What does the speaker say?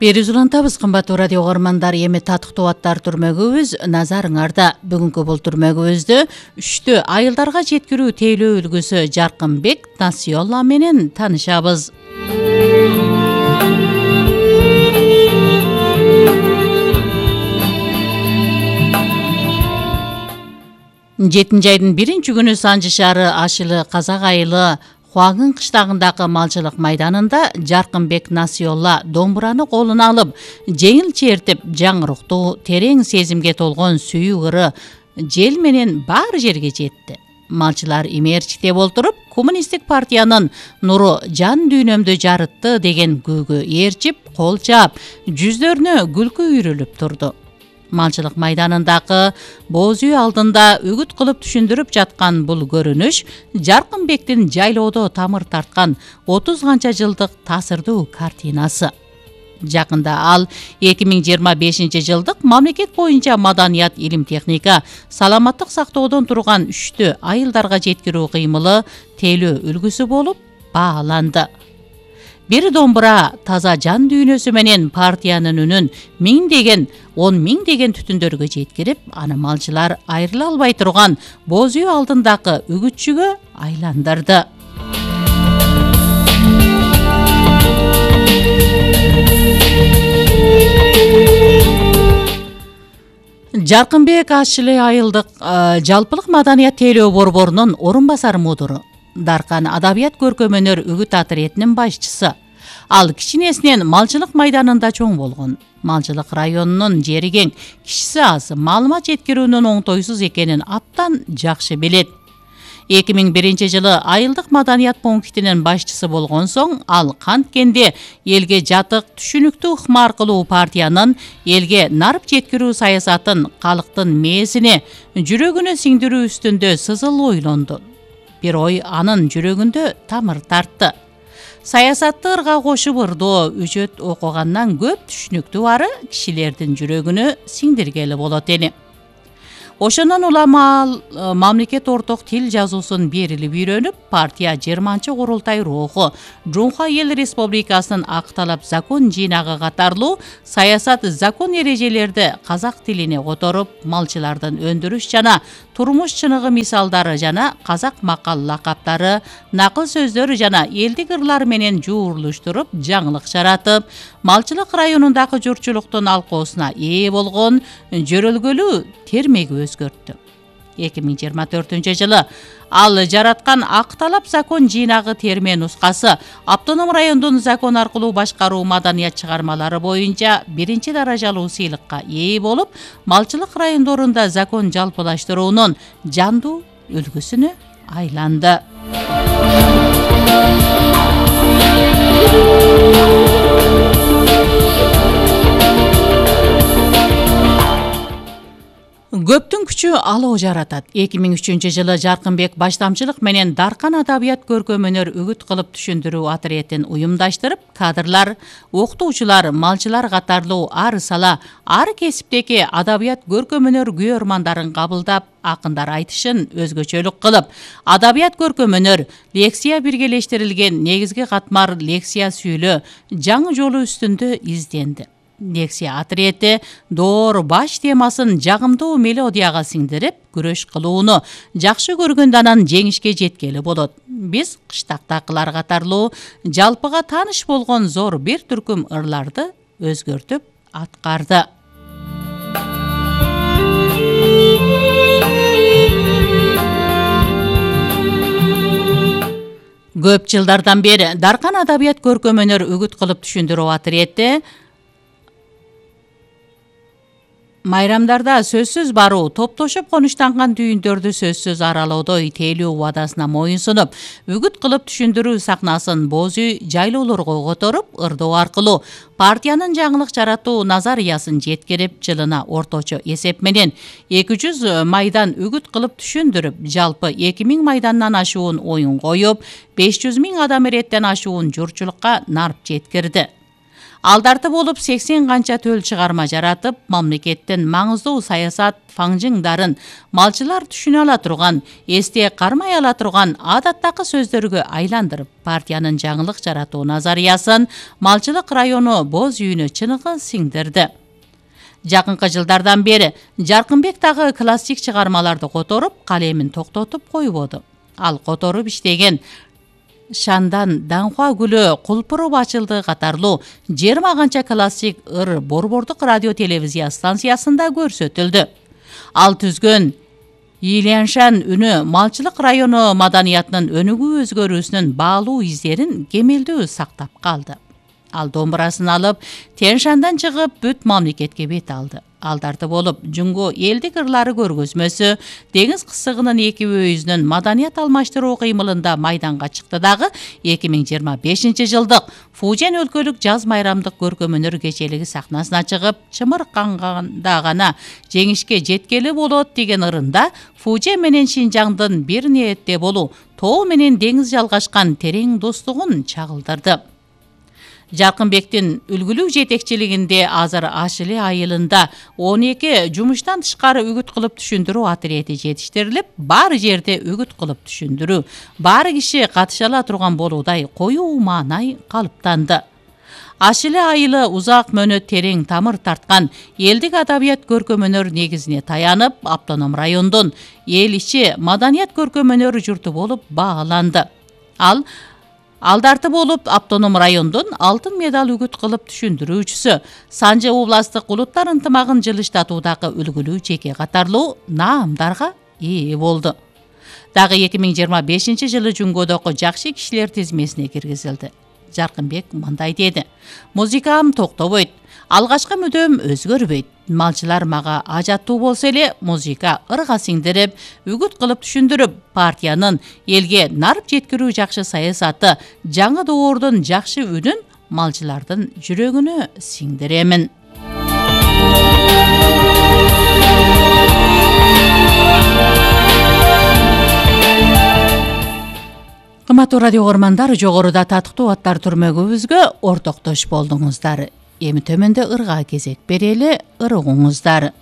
Бериз улантабыз, кымбаттуу радио угармандар, эми татыктуу аттар түрмөгүбүз назарыңарда. Бүгүнкү бул түрмөгүбүздө 3 айылдарга жеткирүү тейлөө үлгүсү Жаркынбек Насиолла менен таанышабыз. 7 айдын 1-күнү Санжы шаары Ашылы Казак айылы Хуагын кыштагындагы малчылык майданында Жаркынбек Насиолла домбураны колуна алып, жеңил чертип, жаңыруктуу, терең сезимге толгон сүйүү ыры жел менен бар жерге жетти. Малчылар имээрчиктеп олтуруп, коммунисттик партиянын нуру жан дүйнөмдү жарытты деген күүгө ээрчип, кол чаап, жүздөрүнө күлкү үйрүлүп турду. Малчылык майданындагы боз үй алдында үгүт кылып түшүндүрүп жаткан бул көрүнүш Жаркынбектин жайлоодо тамыр тарткан 30 канча жылдык таасирдуу картинасы. Жакында ал 2025 жылдык мамлекет боюнча маданият, илим, техника, саламаттык сактоодон турган 3 айылдарга жеткирүү кыймылы тейлөө үлгүсү болуп бааланды. Бир домбура таза жан дүйнөсү менен партиянын үнүн 1000 деген түтүндөргө жеткирип, аны малчылар айрыла албай турган боз үй алдындагы үгүтчүгө айландырды. Жаркынбек Ашылы айылдык жалпылык маданият тейлөө борборунун орун басар мудуру, Даркан адабият көркөм өнөр үгүт отрядынын башчысы. Ал кичинесинен малчылык майданында чоң болгон. Малчылык районунун жери кең, кишиси аз, маалымат жеткирүүнүн оңтойсуз экенин абдан жакшы билет. 2001 жылы айылдык маданият пунктинин башчысы болгон соң, ал канткенде элге жатык, түшүнүктүү ыкма аркылуу партиянын элге нарып жеткирүү саясатын калктын мээсине, жүрөгүнө сиңдирүү үстүндө сызыл ойлонду. Бир ой анын жүрөгүндө тамыр тартты. Саясатты ырга кошуп ырдоо, үчөт окугандан көп түшүнүктүү ары кишилердин жүрөгүнө сиңдиргели болот эли. Ошондон улам мамлекет орток тил жазуусун берилип үйрөнүп, партия 20-курултай руху, Жумха эл республикасынын акталап закон жыйнагы катарлуу саясат закон эрежелерди казак тилине которуп, малчылардын өндүрүш жана турмуш чыныгы мисалдары жана казак макал лакаптары, накыл сөздөр жана элдик ырлар менен жуурулуштуруп, жаңылык жаратып, малчылык районундагы журтчулуктун алкоосуна ээ болгон жөрөлгөлүү термеги өзгөрттү. 2024 жылы ал жараткан акталап закон жыйнагы терме нускасы автоном райондун закон аркылуу башкаруу маданият чыгармалары боюнча 1 даражалуу сыйлыкка ээ болуп, малчылык райондорунда закон жалпылаштыруунун жандуу үлгүсүнө айланды. Көптүн күчү алоо жаратат. 2003 жылы Жаркынбек баштамчылык менен Даркан адабият көркөм өнөр үгүт кылып түшүндүрүү отрядын уюмдаштырып, кадрлар, окутуучулар, малчылар катарлуу ар сала, ар кесиптеги адабият көркөм өнөр күйөрмандарын кабылдап, акындар айтышын өзгөчөлүк кылып, адабият көркөм өнөр, лексия биргелештирилген негизги катмар лексия сүйлөө жаңы жолу үстүндө изденди. Лексия отряды доор баш темасын жагымдуу мелодияга сиңдирип, күрөш кылууну жакшы көргөндө анан жеңишке жеткели болот. Биз кыштактакылар катарлуу жалпыга тааныш болгон зор бир түркүм ырларды өзгөртүп аткарды. Көп жылдардан бери Даркан адабият көркөм өнөр үгүт кылып түшүндүрүү отряды майрамдарда сөзсүз баруу, топтошуп конуштанган дүйүндөрдү сөзсүз аралоодо тейлөө убадасына моюнсунуп, үгүт кылып түшүндүрүү сахнасын боз үй жайлоолорго которуп, ырдоо аркылуу партиянын жаңылык жаратуу назарыясын жеткирип, жылына орточо эсеп менен 200 майдан үгүт кылып түшүндүрүп, жалпы 2000 майдандан ашуун оюн коюп, 500 000 адам эреттен ашуун журтчулукка нарып жеткирди. Алдарты болуп 80 канча төл чыгарма жаратып, мамлекеттин маңыздуу саясат фаңжыңдарын малчылар түшүнө ала турган, эсте кармай ала турган адаттагы сөздөргө айландырып, партиянын жаңылык жаратуу назариясын малчылык району боз үйүнө чыныгы сиңдирди. Жакынкы жылдардан бери Жаркынбек дагы классик чыгармаларды которуп, калемин токтотуп койбоду. Ал которуп иштеген Шандан Даңхуа гүлү кулпуруп ачылды катарлуу 20 канча классик ыр борбордук радио телевизия станциясында көрсөтүлдү. Ал түзгөн Иляншан үнү малчылык району маданиятынын өнүгүү өзгөрүүсүнүн баалуу издерин кемелдүү сактап калды. Ал домбурасын алып, Тянь-Шандан чыгып, бүт мамлекетке бет алды. Алдарты болуп, Жунго элдик ырлары көргөзмөсү, деңиз кысыгынын эки өйүзүнүн маданият алмаштыруу кыймылында майданга чыкты дагы 2025 жылдык Фужен өлкөлүк жаз майрамдык көркөм өнөр кечелиги сахнасына чыгып, чымырканганда гана жеңишке жеткели болот деген ырында Фужен менен Шинжаңдын бир ниетте болуу, тоо менен деңиз жалгашкан терең достугун чагылдырды. Жаркынбектин үлгүлүү жетекчилигинде азыр Ашыле айылында 12 жумуштан тышкары үгүт кылып түшүндүрүү отряди жетиштирилип, баары жерде үгүт кылып түшүндүрүү, баары киши катыша ала турган болуудай коюу маанай калыптанды. Ашыле айылы узак мөөнөт терең тамыр тарткан элдик адабият көркөм өнөр негизине таянып, автоном райондун эл ичи маданият көркөм өнөр журту болуп бааланды. Алдарты болуп, автоном райондун алтын медал үгүт кылып түшүндүрүүчүсү, Санжы областык улуттар ынтымагын жылыштатуудагы үлгүлүү жеке катарлуу наамдарга ээ болду. Дагы 2025 жылы Жунгодогу жакшы кишилер тизмесине киргизилди. Жаркынбек мындай деди: "Музыкам токтобойт, алгачкы мүдөм өзгөрбөйт. Малчылар мага ажаттуу болсо эле, музыка ырга сиңдирип, үгүт кылып түшүндүрүп, партиянын элге нарып жеткирүү жакшы саясаты, жаңы доордун жакшы үнүн малчылардын жүрөгүнө сиңдиремин." Кымбаттуу радио угармандар, жогоруда татыктуу аттар түрмөгүбүзгө ортоктош болдуңуздар. Эми төмөндө ырга кезек берели, ыр угуңуздар.